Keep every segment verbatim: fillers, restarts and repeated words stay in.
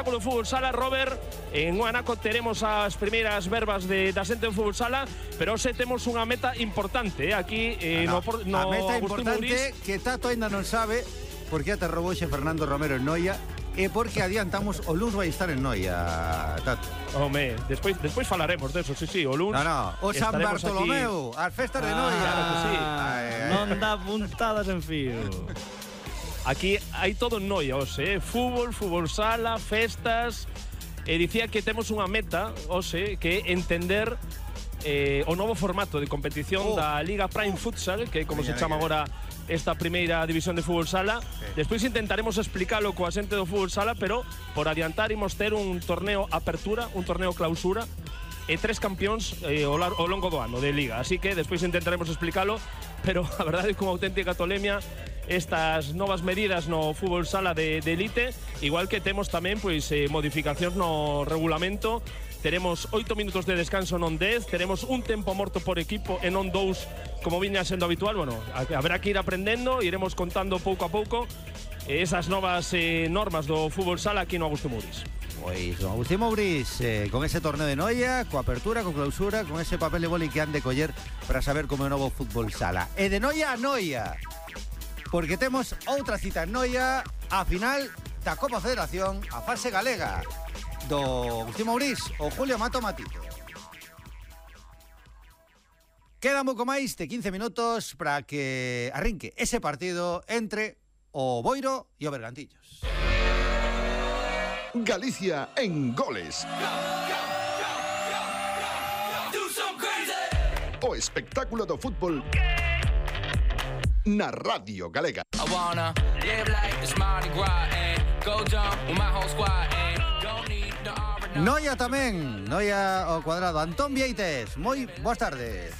espectáculo de fútbol sala, Robert. En Guanaco teremos as primeiras verbas de, da xente do fútbol sala, pero hoxe temos unha meta importante, eh, aquí eh, no, no, no a meta Agustín importante Mourís. que Tato ainda non sabe porque ate roboxe Fernando Romero en Noia e porque adiantamos o luns vai estar en Noia, Tato. Home, despois, despois falaremos deso, sí, sí, o luns. No, no, o San Bartolomeu, aquí as festas de Noia. Claro que sí. Ay, ay. Non dá puntadas en fío. Aquí hai todo en Noia, hoxe, eh? Fútbol, fútbol sala, festas. E dicía que temos unha meta, hoxe, que é entender eh, o novo formato de competición oh. da Liga Prime Futsal, que é como Venga, se chama venga. agora esta primeira división de fútbol sala. Sí. Despois intentaremos explicalo coa xente do fútbol sala, pero por adiantar imos ter un torneo apertura, un torneo clausura e tres campións eh, ao, ao longo do ano de Liga. Así que despois intentaremos explicalo, pero a verdade é que unha auténtica tolemia estas novas medidas no fútbol sala de, de elite, igual que temos tamén pois eh, modificacións no regulamento. Teremos oito minutos de descanso, non dez. Teremos un tempo morto por equipo e non dous, como viña sendo habitual. Bueno, haberá que ir aprendendo, iremos contando pouco a pouco esas novas eh, normas do fútbol sala aquí no Agustín Mourís. Pois, don Agustín Mourís, eh, con ese torneo de Noia, coa apertura, con clausura, con ese papel de boli que han de coller para saber como é o novo fútbol sala. E de Noia a Noia, porque temos outra cita en Noia, a final da Copa Federación, a fase galega do Agustín Mourís, o Julio Mato Matito. Queda un pouco máis de quince minutos para que arrinque ese partido entre o Boiro e o Bergantiños. Galicia en goles. O espectáculo do fútbol na Radio Galega. Noia tamén, Noia ao cuadrado. Antón Vieites, moi boas tardes.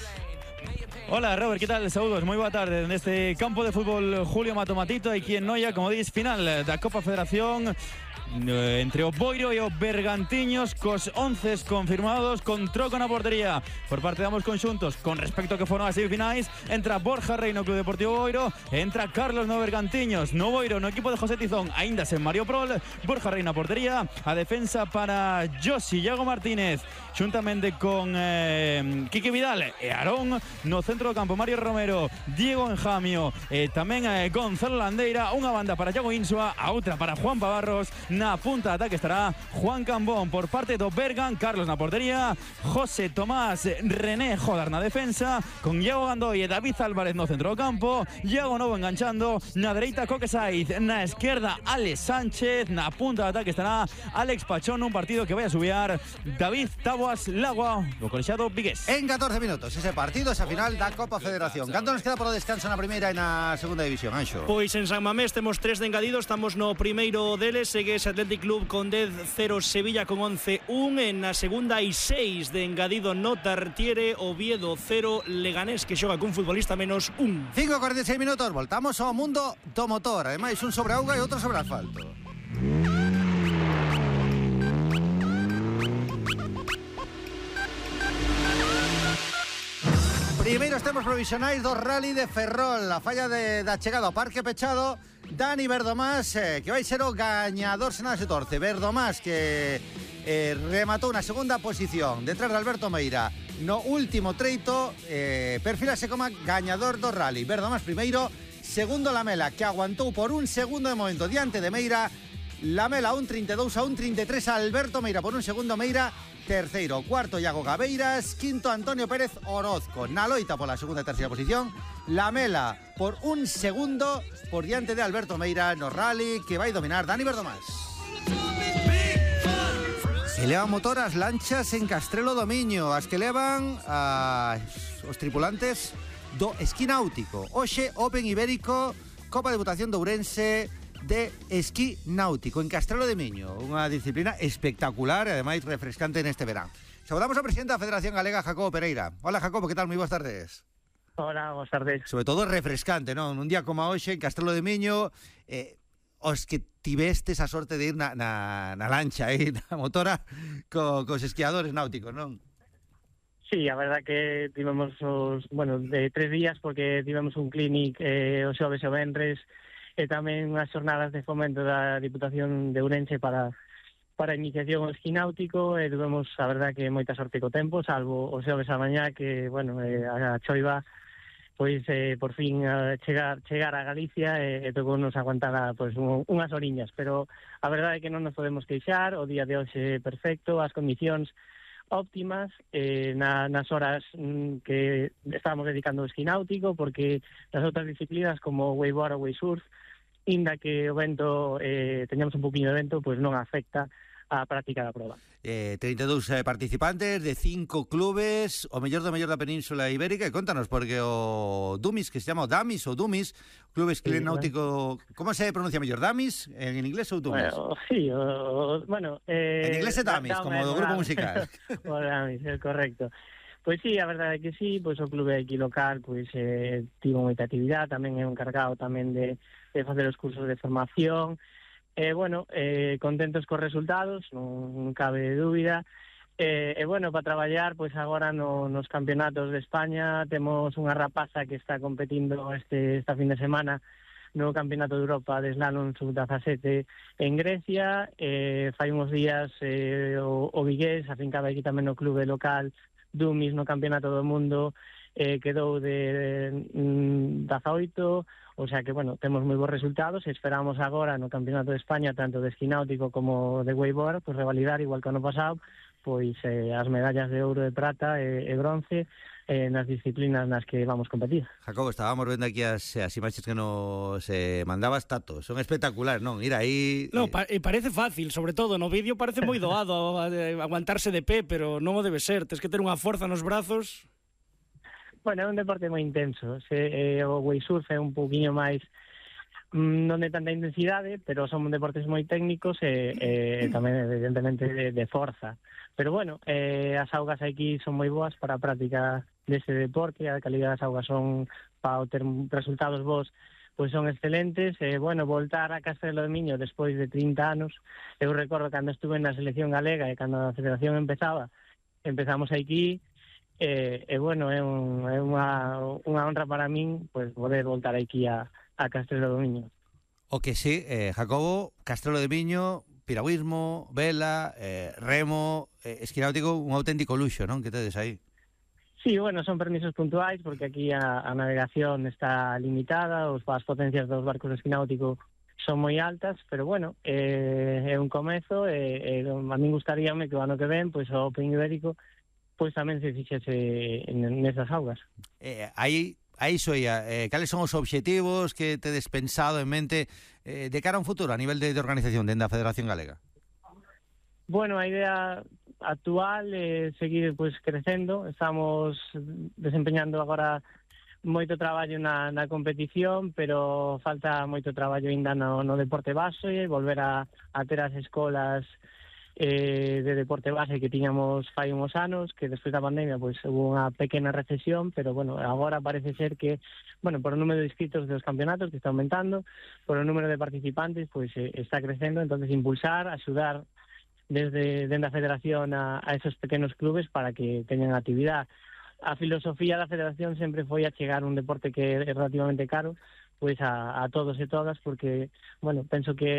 Hola Robert, ¿qué tal? Saúdos, moi boa tarde neste campo de fútbol Julio Mato Matito, aquí en Noia, como dis, final da Copa Federación entre o Boiro e o Bergantiños, cos once confirmados, con troco na portería por parte de ambos conxuntos. Con respecto a que foron as semifinais, entra Borja Rey no Club Deportivo Boiro, entra Carlos no Bergantiños. No Boiro, no equipo de José Tizón, aínda sen Mario Prol, Borja Rey na portería, a defensa para Josi Iago Martínez, xuntamente con eh, Quique Vidal e Aarón. No centro do campo, Mario Romero, Diego Enjamio e tamén eh, Gonzalo Landeira. Unha banda para Iago Insua, a outra para Juan Pavarros. Na punta de ataque estará Juan Cambón. Por parte do Bergan, Carlos na portería, José Tomás, René Jodar na defensa, con Iago Gandoy e David Álvarez no centro do campo, Iago Novo enganchando, na dereita Coque Saiz, na esquerda Alex Sánchez, na punta de ataque estará Alex Pachón. Un partido que vai a subiar David Taboas Lagua, do colexiado vigués. En catorce minutos, ese partido, esa final da Copa Federación. Canto nos queda por o descanso na primeira e na segunda división, Anxo? Pois en San Mamés temos tres de engadido, estamos no primeiro deles, segue ese Athletic Club con dez cero, Sevilla con once un, en na segunda hai seis de engadido no Tartiere, Oviedo cero, Leganés que xoga cun futbolista menos un. cinco cuarenta e seis minutos, voltamos ao mundo do motor, ademais un sobre auga e outro sobre asfalto. Primeiros tempos provisionais do Rally de Ferrol, a falla de, da chegada ao Parque Pechado. Dani Verdomás, eh, que vai ser o gañador se nada se torce. Verdomás que eh, rematou na segunda posición detrás de Alberto Meira no último treito, eh, perfilase como gañador do Rally. Verdomás primeiro, segundo Lamela, que aguantou por un segundo de momento diante de Meira. Lamela un trinta e dous a un trinta e tres, Alberto Meira por un segundo. Meira terceiro, cuarto Iago Gabeiras, quinto Antonio Pérez Orozco. Na loita pola segunda e terceira posición, Lamela por un segundo por diante de Alberto Meira no Rally que vai dominar Dani Verdomás. Se levan motor as lanchas en Castrelo do Miño, as que levan a, os tripulantes do esquí náutico. Hoxe Open Ibérico, Copa de Votación de Ourense de esquí náutico en Castrelo de Miño, unha disciplina espectacular e ademais refrescante neste verán. Saudamos ao presidente da Federación Galega, Jacobo Pereira. Hola Jacobo, que tal? Moi boas tardes. Hola, boas tardes. Sobre todo refrescante, non? Un día como hoxe en Castrelo de Miño, eh, os que tivestes a sorte de ir na, na, na lancha, eh, na motora co, cos esquiadores náuticos, non? Sí, a verdad que tivemos os, bueno, de tres días porque tivemos un clinic eh, o xoves e o venres e tamén unhas xornadas de fomento da Diputación de Ourense para para a iniciación ao esquí náutico e tuvemos, a verdad, que moita sorte co tempo, salvo o xoves a mañá que, bueno, eh, a choiva pois eh, por fin eh, chegar chegar a Galicia e, e tocou nos aguantar a, pois, un, unhas oriñas, pero a verdade é que non nos podemos queixar, o día de hoxe perfecto, as condicións óptimas, eh, na, nas horas mm, que estábamos dedicando ao esquí náutico, porque nas outras disciplinas como wakeboard ou wakesurf, inda que o vento, eh, teñamos un poquinho de vento, pois non afecta a práctica da proba. Eh, trinta e dous eh, participantes de cinco clubes, o mellor do mellor da Península Ibérica. E contanos, porque o Dumis, que se chama o Damis ou Dumis, Club Esquí Sí, Náutico, bueno. Como se pronuncia mellor, Damis en inglés ou Dumis? Bueno, sí, o, o, bueno... Eh, en inglés é Damis, da, como do grupo musical. O Damis, é correcto. Pois sí, a verdade é que sí, pois o clube aquí local pois eh, tivo moita actividade, tamén é un encargado tamén de, de facer os cursos de formación. E, eh, bueno, eh, contentos cos resultados, non, non cabe dúbida. E, eh, eh, bueno, para traballar, pois agora no, nos campeonatos de España temos unha rapaza que está competindo este esta fin de semana no Campeonato de Europa de Slalom sub dezasete en Grecia. Eh, fai uns días eh, o, o Vigués, afincado aquí tamén no clube local Dumis no Campeonato do Mundo, eh, quedou de mm, dezaoito. O sea que, bueno, temos moi bons resultados e esperamos agora no Campeonato de España, tanto de esquí náutico como de wakeboard, pues revalidar, igual que ano pasado, pois eh, as medallas de ouro, de prata e, e bronce eh, nas disciplinas nas que vamos competir. Jacobo, estábamos vendo aquí as, as imaxes que nos eh, mandabas, Tato. Son espectaculares, non? Ir aí... No, pa e parece fácil, sobre todo, no vídeo parece moi doado aguantarse de pé, pero non o debe ser. Tens que ter unha forza nos brazos... Bueno, é un deporte moi intenso. Se, eh, o wakesurf é un pouquiño máis mm, non de tanta intensidade, pero son deportes moi técnicos e, e tamén evidentemente de, de forza. Pero bueno, eh, as augas aquí son moi boas para a práctica deste deporte, a calidad das augas son para ter resultados bons, pois son excelentes. E, bueno, voltar a Castelo de Miño despois de trinta anos, eu recordo cando estuve na selección galega e cando a federación empezaba, empezamos aquí. E, e bueno, é, un, é unha, unha honra para min pois, poder voltar aquí a, a Castelo do Miño. O que sí, eh, Jacobo, Castelo de Miño, piragüismo, vela, eh, remo, eh, esquí náutico, un auténtico luxo, non? Que tedes aí? Sí, bueno, son permisos puntuais porque aquí a, a navegación está limitada, os, as potencias dos barcos de esquí náutico son moi altas, pero bueno, eh, é un comezo e, e a min gustaríame que o ano que ven, pois o Open Ibérico pois tamén se fixese nesas augas. Eh, aí, aí soia, eh, cales son os obxectivos que tedes pensado en mente eh, de cara a un futuro a nivel de, de organización dentro da Federación Galega? Bueno, a idea actual é seguir pois crecendo. Estamos desempeñando agora moito traballo na, na competición, pero falta moito traballo ainda no, no deporte base, volver a, a ter as escolas Eh, de deporte base que tiñamos fai uns anos, que despois da pandemia pois hubo unha pequena recesión, pero bueno, agora parece ser que, bueno, por o número de inscritos dos campeonatos que está aumentando, por o número de participantes pois eh, está crecendo, entonces impulsar, axudar desde dentro da federación a, a esos pequenos clubes para que teñan actividade. A filosofía da federación sempre foi achegar un deporte que é relativamente caro pois a, a todos e todas, porque, bueno, penso que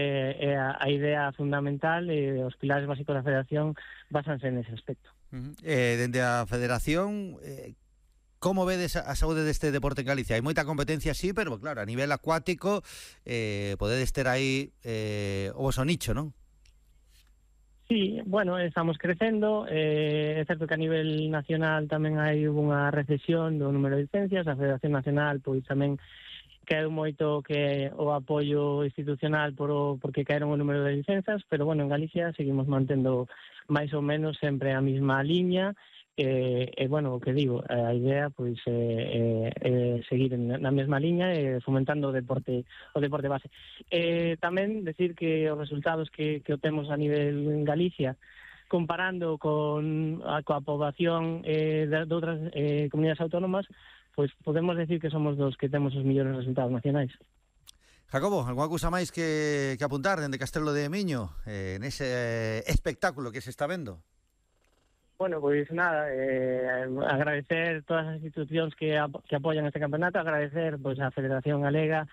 é a, a idea fundamental e os pilares básicos da federación basanse nese aspecto. Uh-huh. Eh, dende a federación, eh, como vedes a saúde deste deporte en Galicia? Hai moita competencia, sí, pero claro, a nivel acuático eh, podedes ter aí eh, o voso nicho, non? Sí, bueno, estamos crecendo, eh, é certo que a nivel nacional tamén hai unha recesión do número de licencias, a Federación Nacional pois tamén caeu moito que o apoio institucional por o, porque caeron o número de licencias, pero bueno, en Galicia seguimos mantendo máis ou menos sempre a mesma liña, e, e bueno, o que digo, a idea pois é, é, é seguir na mesma liña e fomentando o deporte o deporte base. E tamén decir que os resultados que, que obtemos a nivel en Galicia, comparando con a, coa poboación eh, de, de outras eh, comunidades autónomas, pois podemos decir que somos dos que temos os mellores resultados nacionais. Jacobo, alguna cousa máis que, que apuntar dende Castelo de Miño eh, nese espectáculo que se está vendo? Bueno, pois nada, eh, agradecer todas as institucións que, ap que apoian este campeonato, agradecer pois a Federación Galega,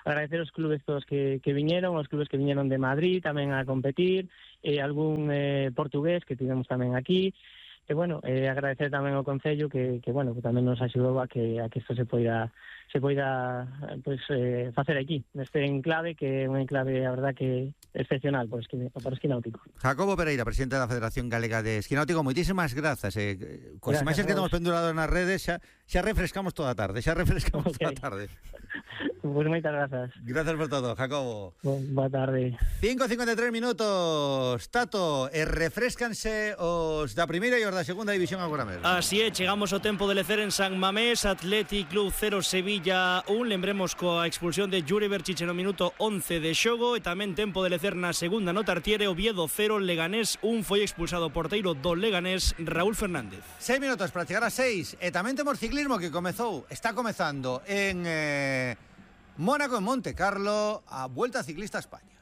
agradecer os clubes todos que, que viñeron, os clubes que viñeron de Madrid tamén a competir, e algún eh, portugués que tivemos tamén aquí. E, bueno, eh, agradecer tamén ao Concello que, que, bueno, que tamén nos axudou a que a que isto se poida se poida pues, eh, facer aquí, neste enclave, que é un enclave, a verdad, que excepcional por, esqui, por esquí náutico. Jacobo Pereira, presidente da Federación Galega de Esquí Náutico, moitísimas grazas. Eh, coas imaxes que temos pendurado nas redes, xa, xa refrescamos toda a tarde, xa refrescamos okay. toda a tarde. Pois pues moitas grazas. Grazas por todo, Jacobo. Boa tarde. cinco e cincuenta e tres minutos, Tato, e refrescanse os da primeira e os da segunda división agora mesmo. Así é, chegamos ao tempo de lecer en San Mamés, Athletic Club cero, Sevilla un, lembremos coa expulsión de Jure Berchiche no minuto once de xogo, e tamén tempo de lecer na segunda no Tartiere, Oviedo cero, Leganés un, foi expulsado o porteiro do Leganés, Raúl Fernández. Seis minutos para chegar a seis, e tamén temos ciclismo que comezou, está comezando en eh, Mónaco, en Monte Carlo, a Vuelta Ciclista a España.